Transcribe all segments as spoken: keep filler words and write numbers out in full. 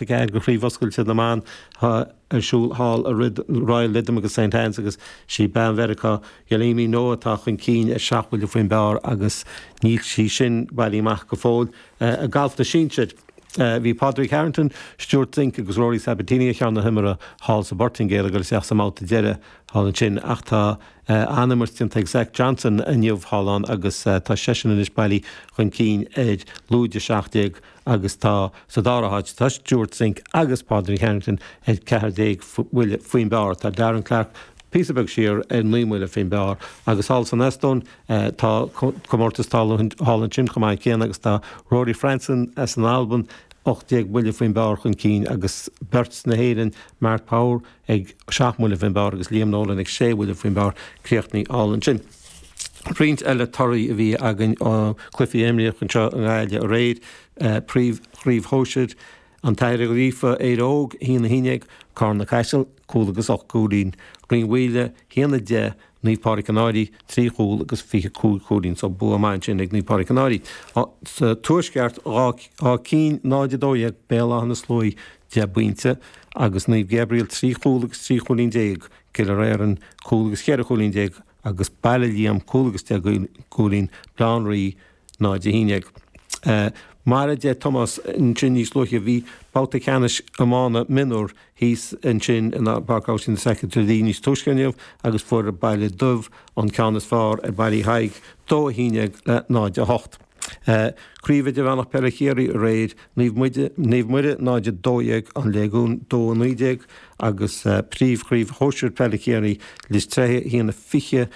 ceathair de Chraobh Oscailte na mBan ar siúl thall i Royal Lytham agus Saint Anne's agus sí bean Mheiriceá Yealimi Noh atá chun cinn ar seacht mbuille faoin bpar agus níl sí sin bailithe amach go fóill. Galf na Sinsear. Bhí Padraig Harrington, Stewart Cink agus Rory Sabbatini ar cheann na himeartha thall sa bPortaingéil ag dul isteach sa mbabhta deiridh thall ansin ach tá an-imirt déanta ag Zach Johnson inniu thall ann agus tá seisean anois bailithe chun cinn ar lúide seacht déag agus tá sa dara háit tá Stewart Cink agus Padraig Harrington ar ceathair déag buille faoin bpar. Tá Darren Clarke píosa beag siar ar naoi mbuille faoin bpar agus thall san Eastóin tá comórtas thall ansin chomh maith céanna agus tá Rory Franzen as an Albain ocht déag buille faoin bpar chun cinn agus beirt na hÉireann, Mark Power ag seacht mbuille faoin bpar agus Liam Nolan ag sé bhuille faoin bpar críochnaithe thall ansin. Roinnt eile torthaí a bhí againn ó chluichí a imríodh anseo i nGaillimh aréir, Príomh-Chraobh Shóisir, An tAthair Ó Gríofa, Éire Óg, a haon a haon déag, Carna Caiseal, cúl agus ocht gcúilín, Rinn Mhaoile, a haon a deich, Naomh Pádraig an Fhairche, trí chúl agus fiche cúig chúilín, so bua maith ansin ag Naomh Pádraig an Fhairche. Sa Tuaisceart, Áth Cinn, náid a dó dhéag, Béal Átha na Sluaighe, deich bpointe, agus Naomh Gabriel, trí chúl agus trí chúilín déag, Cill Éireann, cúl agus cheithre chúilín déag, agus Baile Liam, cúl agus deich gcúilín, Baile Átha an Rí, náid a haon déag. Mar a deir Tomás ansin níos luaithe, bhí babhta ceannais iomána mionúr thíos ansin i bPáirc Abhaistín de Staic i dTrá Lí níos túisce inniu agus fuair Baile Dubh an ceann is fearr ar Baile Uí Thaidhg, dó a haon déag le náid a hocht. Craobh Idirmheánach Peile Chiarraí aréir, Naomh Naomh Muire náid a dó dhéag, An Léigiún dó a naoi déag agus Príomh-Chraobh Shóisir Peile Chiarraí, Lios Tréithe a haon a fiche,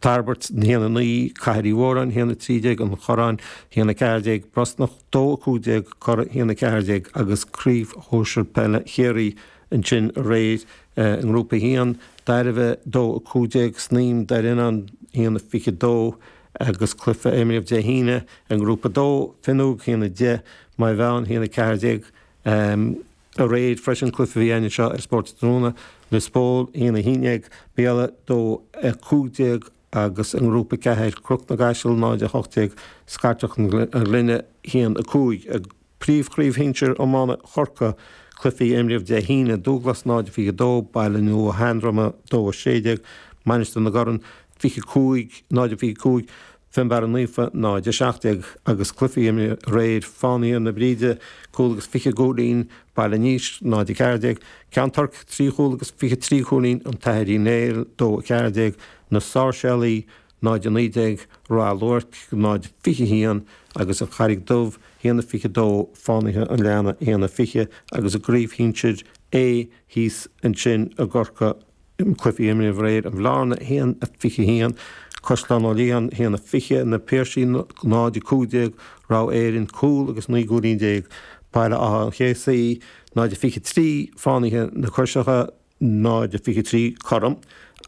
Tairbeart a haon a naoi, Cathair Uí Mhóráin a haon a trí déag, An Corrán a haon a ceathair déag, Brosnach dó a cúig déag, Cora a haon a ceathair déag agus Craobh Shóisir Peile Chiarraí ansin aréir i nGrúpa a haon, Dairbhe dó a cúig déag, Snaidhm Doire Fhíonáin a haon a fiche dó agus cluiche a imríodh Dé hAoine i nGrúpa a dó, Fionnúig a haon a deich, Maigh Mheáin a haon a ceathair déag. Aréir freisin, cluiche a bhí againn anseo ar Spórt Tráthnóna, Lios Póil a haon a haon déag, Béal dó a cúig déag agus i nGrúpa ceathair, Cnoc na gCaiseal náid a hocht déag, Scairteach an Ghlinne a haon a cúig. I bPríomh-Chraobh Shinsir Iomána Chorcaí, cluichí a imríodh Dé hAoine, Dúglas náid a fiche dó, Baile Nua Sheandroma dó a sé déag, Mainistir na gCorn fiche cúig, náid a fiche cúig, Fionnbarra Naofa, náid a seacht déag, agus cluichí a imríodh aréir, Fánaithe na Bríde, cúl agus fiche cúilín, Baile an Éisc, náid a ceathair déag, Ceann Toirc, trí chúl agus fiche trí chúilín, An tAthair Uí Néill, dó a ceathair déag, Na Sáirséalaigh, náid a naoi déag, Ráth Luirc, náid a fiche haon, agus An Charraig Dubh, haon a fiche dó, Fánaithe an Leanna, haon a fiche, agus i gCraobh Shinsir A thíos ansin i gCorcaigh, Cluichí a imríodh aréir, An Bhlarna, a haon a fiche haon, Caisleán Ó Liatháin, a haon a fiche, Na Piarsaigh, náid a cúig déag, Ráth Éirinn, cúl agus naoi gcúilín déag, Baile Átha an Chéasaí, náid a fiche trí, Fánaithe na Coiseacha, náid a fiche trí, cothrom,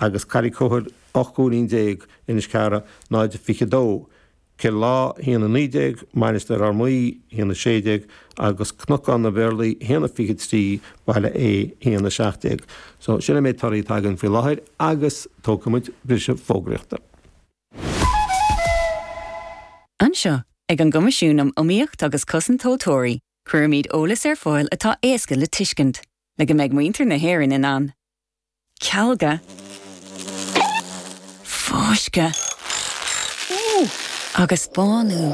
agus Carraig Chuthail, ocht gcúilín déag, Inis Cearra, náid a fiche dó. Cill Lá, a haon a naoi déag, Mainistir Fhear Maí, a haon a sé déag, agus Cnocán na bPéarlaí, a haon a fiche trí, Baile Aodha, a haon a seacht déag. So, sin an méid torthaí atá againn faoi láthair agus tógfaidh muid briseadh fógraíochta. Anseo, ag an gCoimisiún um Iomaíocht agus Cosaint Tomhaltóirí, cuirimid eolas ar fáil atá éasca le tuiscint, le go mbeidh muintir na hÉireann in ann cealga, fáisceadh agus bánú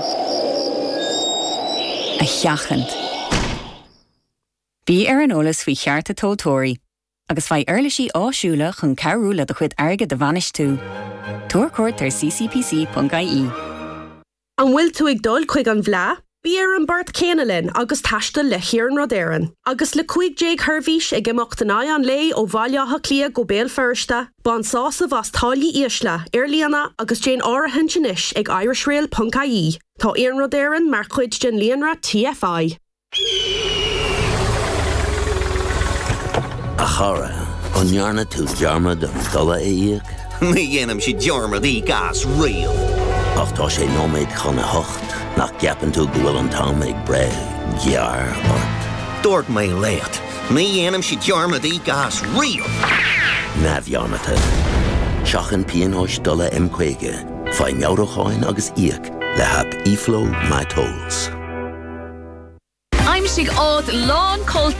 a sheachaint. Bí ar an eolas faoi chearta tomhaltóirí agus faigh uirlisí áisiúla chun cabhrú le do chuid airgid a bhainistiú. Tabhair cuairt ar C C P C ponc I E. An bhfuil tú ag dul chuig an bhFleadh? Bí ar an bport céanna linn agus taistil le hIarnród Éireann. Agus le cúig déag sheirbhís ag imeacht in aghaidh an lae ó Bhaile Átha Cliath go Béal Feirste, bain sásamh as táillí ísle, ar líne agus déan áirithint anois ag irishrail ponc I E. Tá Iarnród Éireann mar chuid den líonra T F I. A chara, an ndearna tú dearmad an dola a íoc? Ní dhéanaimse dearmad íoc as riamh. Ach tá sé nóiméad chun a hocht, nach gceapann tú go bhfuil an t-am ag breith gearr ort? Dúirt mé leat, ní dhéanaimse dearmad íoc as riamh. Neamhdhearmadta. Seachain pionóis dola M caoga, faigh meabhrúcháin agus íoc le haip eFlow MyTolls. Aimsigh áit lán